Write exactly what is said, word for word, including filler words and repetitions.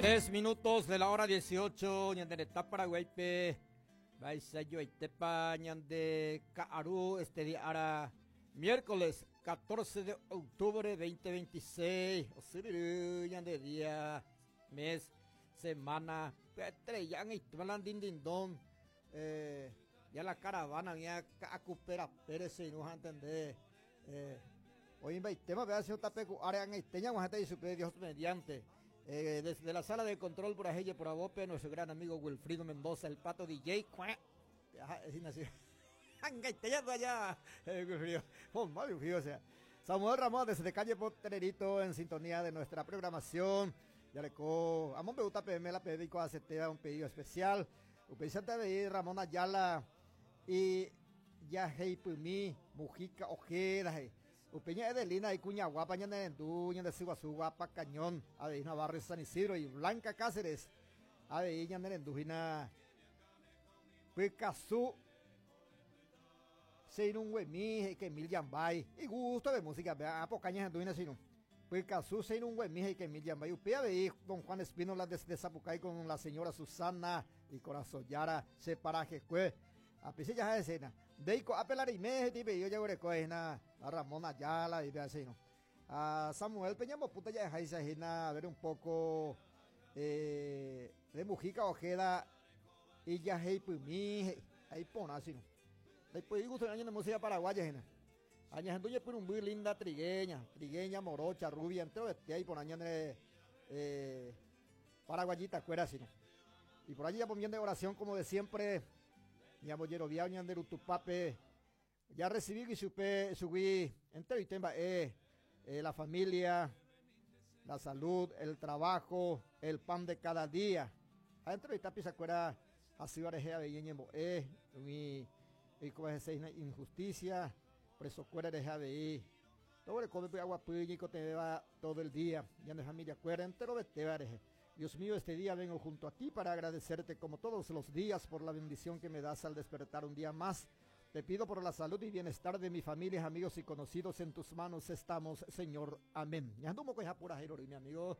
Tres minutos de la hora dieciocho, ñande retã Paraguáipe, mba'eichajoaitépa ñande ka'aru este día ára miércoles catorce de octubre dos mil veintiséis, osyryry ñande día, mes, semana, estrella ndindindón, eh, ya la caravana ya ka'akupera Pérez se no entender, eh, hoy tema vea si tape área en guajete Dios mediante. Eh, desde la sala de control por ahí por Abope, nuestro gran amigo Wilfrido Mendoza, el pato D J. Allá, Wilfrido. Oh, Wilfrido, o sea. Samuel Ramón desde calle Potrerito en sintonía de nuestra programación. Ya le co, amón me gusta P M la pedico A C T un pedido especial. Un de Ramón Ayala y ya Heipumi, Mujica Ojeda. Upeña Edelina y Cuña Guapa, Ñanendú, Ñandesiguazú, Guapa Cañón, Adeina Barrio San Isidro y Blanca Cáceres, Adeina Ñanendujina, Picazú, Seinun Huemi, que Mil Yambay, y gusto de música, vea, pocaña Ñandujina Seinun. Picazú, Seinun Huemi, que Mil Yambay, Upea de don Juan Espínola desde Zapucay con la señora Susana y Corazón Yara, separaje, cue. A pese ya escena. Deiko apelarime, tipe yo ya a Ramón Ayala y así, ¿no? A Samuel Peña puta ya a ver un poco eh, de Mujica Ojeda y ya mi ahí pone así, ¿no? Después gusto año de música paraguaya, ¿no? Año por un muy linda trigueña, trigueña, morocha, rubia, entero este ahí por año de eh, paraguayita, cuera así, ¿no? Y por allí ya poniendo de oración como de siempre, mi amo Yerovia, Ñanderu Tupape, ya recibí y supe, subí, entero y temba, eh, eh, la familia, la salud, el trabajo, el pan de cada día. Adentro y tapi se acuerda, así va de eh, mi, y como es injusticia, preso cuera de ahí. Todo el come agua y te va todo el día. Ya de familia cuera entero de te. Dios mío, este día vengo junto a ti para agradecerte como todos los días por la bendición que me das al despertar un día más. Te pido por la salud y bienestar de mi familia, amigos y conocidos. En tus manos estamos, Señor. Amén. Mi amigo.